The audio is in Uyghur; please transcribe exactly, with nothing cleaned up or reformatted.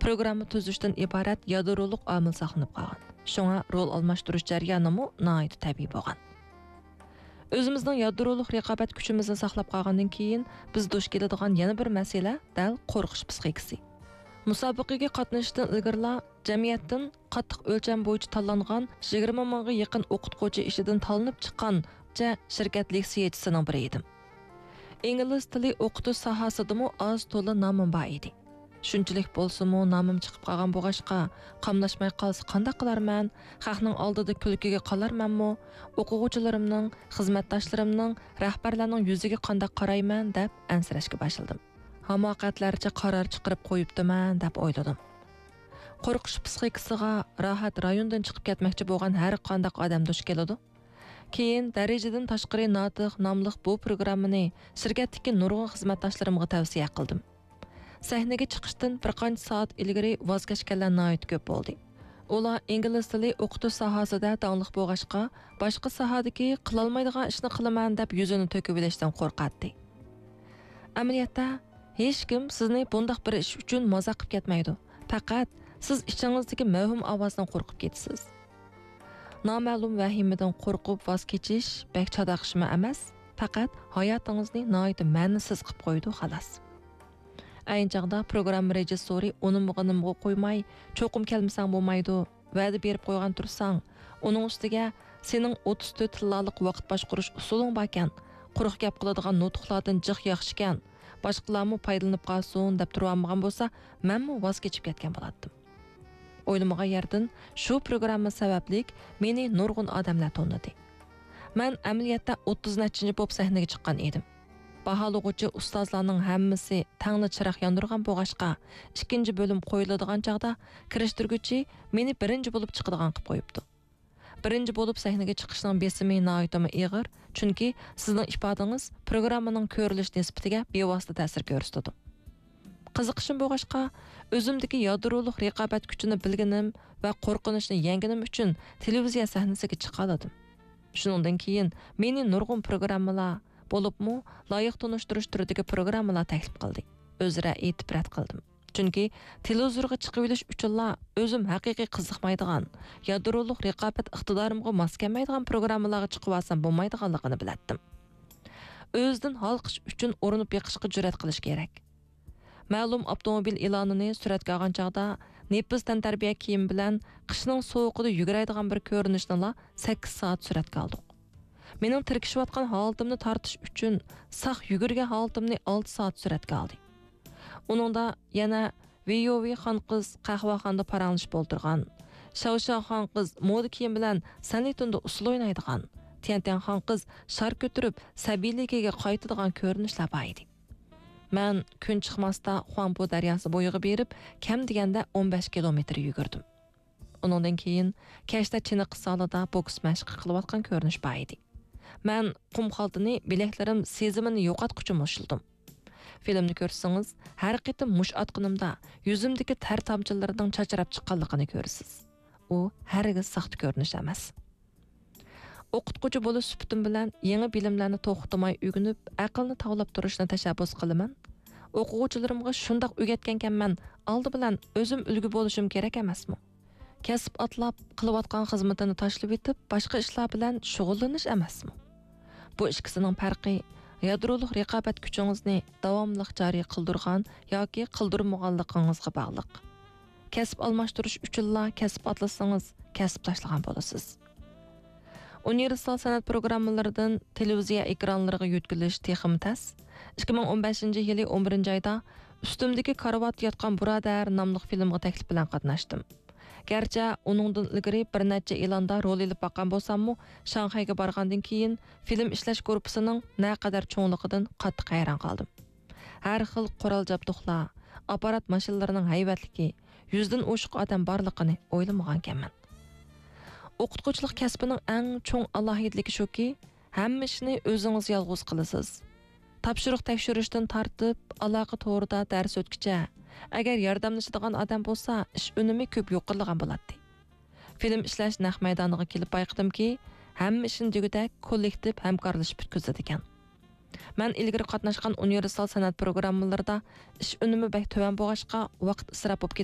پروگرامما تۈزۈشتىن ئىبارەت يادرولۇق ئامىل ساقلىنىپ قالغان. شۇڭا رول ئالماشتۇرۇش جەريانىمۇ ناھايىتى تەبىئىي بولغان. ئۆزىمىزنىڭ يادرولۇق رىقابەت كۈچىمىزنى ساقلاپ قالغاندىن كېيىن، بىز دۇچ كېلىدىغان يەنە بىر مەسىلە دەل قورقۇش پىسخىكىسى. مۇسابىقىگە قاتنىشىشتىن ئىلگىرىلا جەمئىيەتتىن قاتتىق ئۆلچەم بويىچە تاللانغان يىگىرمە مىڭغا يېقىن ئوقۇتقۇچى ئىچىدىن تاللىنىپ چىققان نەچچە شىركەت لېكسىيەچىسىنىڭ بىرى ئىدىم. ئىنگلىز تىلى ئوقۇتۇش ساھەسىدىمۇ ئاز تولا نامىم بار ئىدى. شۇنچىلىك بولسىمۇ، نامىم چىقىپ قالغان بولغاچقا، قاملاشماي قالسا قانداق قىلارمەن؟ خەقنىڭ ئالدىدا كۈلكىگە قالارمەنمۇ؟ ئوقۇغۇچىلىرىمنىڭ، خىزمەتداشلىرىمنىڭ، رەھبەرلەرنىڭ يۈزىگە قانداق قارايمەن؟ دەپ ئەنسىرەشكە باشلىدىم. ھاماقەتلەرچە قارار چىقىرىپ قويۇپتىمەن، دەپ ئويلىدىم. قورقۇش پىسخىكىسىغا راھەت رايونىدىن چىقىپ كەتمەكچى بولغان ھەر قانداق ئادەم دۇچ كېلىدۇ. كېيىن دەرىجىدىن تاشقىرى ناتىق ناملىق بۇ پروگراممىنى شىركەتتىكى نۇرغۇن خىزمەتداشلىرىمغا تەۋسىيە قىلدىم. سەھنىگە چىقىشتىن بىر قانچە سائەت ئىلگىرى ۋاز كەچكەنلەر ناھايىتى كۆپ بولدى. ئۇلار ئىنگلىز تىلى ئوقۇتۇش ساھەسىدە داڭلىق بولغاچقا، باشقا ساھەدىكى قىلالمايدىغان ئىشنى قىلىمەن دەپ يۈزىنى تۆكۈۋېلىشتىن قورقاتتى. ئەمەلىيەتتە، ھېچكىم سىزنى بۇنداق بىر ئىش ئۈچۈن مازاق قىلىپ كەتمەيدۇ. پەقەت سىز ئىچىڭىزدىكى مەۋھۇم ئاۋازدىن قورقۇپ كېتىسىز. نامەلۇم ۋەھىمىدىن قورقۇپ ۋاز كېچىش بەك چاتاق ئىشمۇ ئەمەس، پەقەت ھاياتىڭىزنى ناھايىتى مەنىسىز قىلىپ قويىدۇ، خالاس. ئەينى چاغدا پروگرامما رېژىسسورى ئۇنىمىغىنىمغا قويماي، چوقۇم كەلمىسەڭ بولمايدۇ، ۋەدە بېرىپ قويغان تۇرساڭ، ئۇنىڭ ئۈستىگە سېنىڭ ئوتتۇز تۆت تىللالىق ۋاقىت باشقۇرۇش ئۇسۇلۇڭ باركەن، قۇرۇق گەپ قىلىدىغان نۇتۇقلاردىن جىق ياخشىكەن، باشقىلارمۇ پايدىلىنىپ قالسۇن دەپ تۇرۇۋالمىغان بولسا، مەنمۇ ۋاز كېچىپ كەتكەن بولاتتىم. ئويلىمىغان يەردىن شۇ پروگرامما سەۋەبلىك مېنى نۇرغۇن ئادەملەر تونۇدى. مەن ئەمەلىيەتتە ئوتتۇز نەچچىنچى بولۇپ سەھنىگە چىققان ئىدىم. باھالىغۇچى ئۇستازلارنىڭ ھەممىسى تەڭلا چىراغ ياندۇرغان بولغاچقا، ئىككىنچى بۆلۈم قويۇلىدىغان چاغدا كىرىشتۈرگۈچى مېنى بىرىنچى بولۇپ چىقىدىغان قىلىپ قويۇپتۇ. بىرىنچى بولۇپ سەھنىگە چىقىشنىڭ بېسىمى ناھايىتىمۇ ئېغىر، چۈنكى سىزنىڭ ئىپادىڭىز پروگراممىنىڭ كۆرۈلۈش نىسبىتىگە بىۋاسىتە تەسىر كۆرسىتىدۇ. قىزىقىشىم بولغاچقا، ئۆزۈمدىكى يادرولۇق رىقابەت كۈچىنى بىلگىنىم ۋە قورقۇنچنى يەڭگىنىم ئۈچۈن تېلېۋىزىيە سەھنىسىگە چىقالىدىم. شۇنىڭدىن كېيىن مېنى نۇرغۇن پروگراممىلار، بولۇپمۇ لايىق تونۇشتۇرۇش تۈرىدىكى پروگراممىلار تەكلىپ قىلدى. ئۆزرە ئېيتىپ رەت قىلدىم. چۈنكى تېلېۋىزورغا چىقىۋېلىش ئۈچۈنلا ئۆزۈم ھەقىقىي قىزىقمايدىغان، يادرولۇق رىقابەت ئىقتىدارىمغا ماس كەلمەيدىغان پروگراممىلارغا چىقىۋالسام بولمايدىغانلىقىنى بىلەتتىم. ئۆزىدىن ھالقىش ئۈچۈن ئۇرۇنۇپ بېقىشقا جۈرئەت قىلىش كېرەك. مەلۇم ئاپتوموبىل ئېلانىنى سۈرەتكە ئالغان چاغدا، نېپىز تەنتەربىيە كىيىمى بىلەن قىشنىڭ سوغۇقىدا يۈگۈرەيدىغان بىر كۆرۈنۈشنىلا سەككىز سائەت سۈرەتكە ئالدۇق. مېنىڭ تىركىشىۋاتقان ھالىتىمنى تارتىش ئۈچۈن ساق يۈگۈرگەن ھالىتىمنى ئالتە سائەت سۈرەتكە ئالدى. ئۇنىڭدا يەنە ۋىيوۋى خان قىز قەھۋەخانىدا پاراڭلىشىپ ئولتۇرغان، شاۋشاۋ خان قىز مودا كىيىم بىلەن سەنلىتوندا ئۇسسۇل ئوينايدىغان، تيەنتيەن خان قىز شار كۆتۈرۈپ سەبىيلىكىگە قايتىدىغان كۆرۈنۈشلەر بار ئىدى. مەن كۈن چىقماستا خۇاڭپۇ دەرياسى بويىغا بېرىپ، كەم دېگەندە ئون بەش كىلومېتىر يۈگۈردۈم. ئۇنىڭدىن كېيىن كەچتە چېنىقىش زالىدا بوكس مەشقى قىلىۋاتقان كۆرۈنۈش بار ئىدى. مەن قۇم خالتىنى بىلەكلىرىم سېزىمىنى يوقاتقۇچە مۇشتلىدىم. فىلىمنى كۆرسىڭىز، ھەر قېتىم مۇشت ئاتقىنىمدا يۈزۈمدىكى تەر تامچىلىرىنىڭ چاچراپ چىققانلىقىنى كۆرىسىز. ئۇ ھەرگىز ساختا كۆرۈنۈش ئەمەس. ئوقۇتقۇچى بولۇش سۈپىتىم بىلەن يېڭى بىلىملەرنى توختىماي ئۆگىنىپ، ئەقىلنى تاۋلاپ تۇرۇشنى تەشەببۇس قىلىمەن. ئوقۇغۇچىلىرىمغا شۇنداق ئۆگەتكەنكەنمەن، ئالدى بىلەن ئۆزۈم ئۈلگە بولۇشۇم كېرەك ئەمەسمۇ؟ كەسىپ ئاتلاپ، قىلىۋاتقان خىزمىتىنى تاشلىۋېتىپ، باشقا ئىشلار بىلەن شۇغۇللىنىش ئەمەسمۇ؟ بۇ ئىككىسىنىڭ پەرقى يادرولۇق رىقابەت كۈچىڭىزنى داۋاملىق جارى قىلدۇرغان ياكى قىلدۇرمىغانلىقىڭىزغا باغلىق. كەسىپ ئالماشتۇرۇش ئۈچۈنلا كەسىپ ئاتلىسىڭىز، كەسىپ تاشلىغان بولىسىز. ئۇنىۋېرسال سەنئەت پروگراممىلىرىدىن تېلېۋىزىيە ئېكرانلىرىغا يۆتكىلىش تېخىمۇ تەس. ئىككى مىڭ ئون بەشىنچى يىلى ئون بىرىنچى ئايدا ئۈستۈمدىكى كارىۋاتتا ياتقان بۇرادەر ناملىق فىلىمغا تەكلىپ بىلەن قاتناشتىم. گەرچە ئۇنىڭدىن ئىلگىرى بىر نەچچە ئېلاندا رول ئېلىپ باققان بولساممۇ، شاڭخەيگە بارغاندىن كېيىن فىلىم ئىشلەش گۇرۇپپىسىنىڭ نەقەدەر چوڭلۇقىدىن قاتتىق ھەيران قالدىم. ھەر خىل قورال جابدۇقلار، ئاپپارات ماشىنىلىرىنىڭ ھەيۋەتلىكى، يۈزدىن ئوشۇق ئادەم بارلىقىنى ئويلىمىغانىكەنمەن. ئوقۇتقۇچىلىق كەسپىنىڭ ئەڭ چوڭ ئالاھىدىلىكى شۇكى، ھەممە ئىشنى ئۆزىڭىز يالغۇز قىلىسىز. تاپشۇرۇق تەكشۈرۈشتىن تارتىپ، ئالاقە تورىدا دەرس ئۆتكۈچە، ئەگەر ياردەملىشىدىغان ئادەم بولسا، ئىش ئۈنۈمى كۆپ يۇقىرىلىغان بولاتتى. فىلىم ئىشلەش نەق مەيدانىغا كېلىپ بايقىدىمكى، ھەممە ئىشنى دېگۈدەك كوللېكتىپ ھەمكارلىشىپ پۈتكۈزىدىكەن. مەن ئىلگىرى قاتناشقان ئۇنىۋېرسال سەنئەت پروگراممىلىرىدا ئىش ئۈنۈمى بەك تۆۋەن بولغاچقا، ۋاقىت ئىسراپ بولۇپ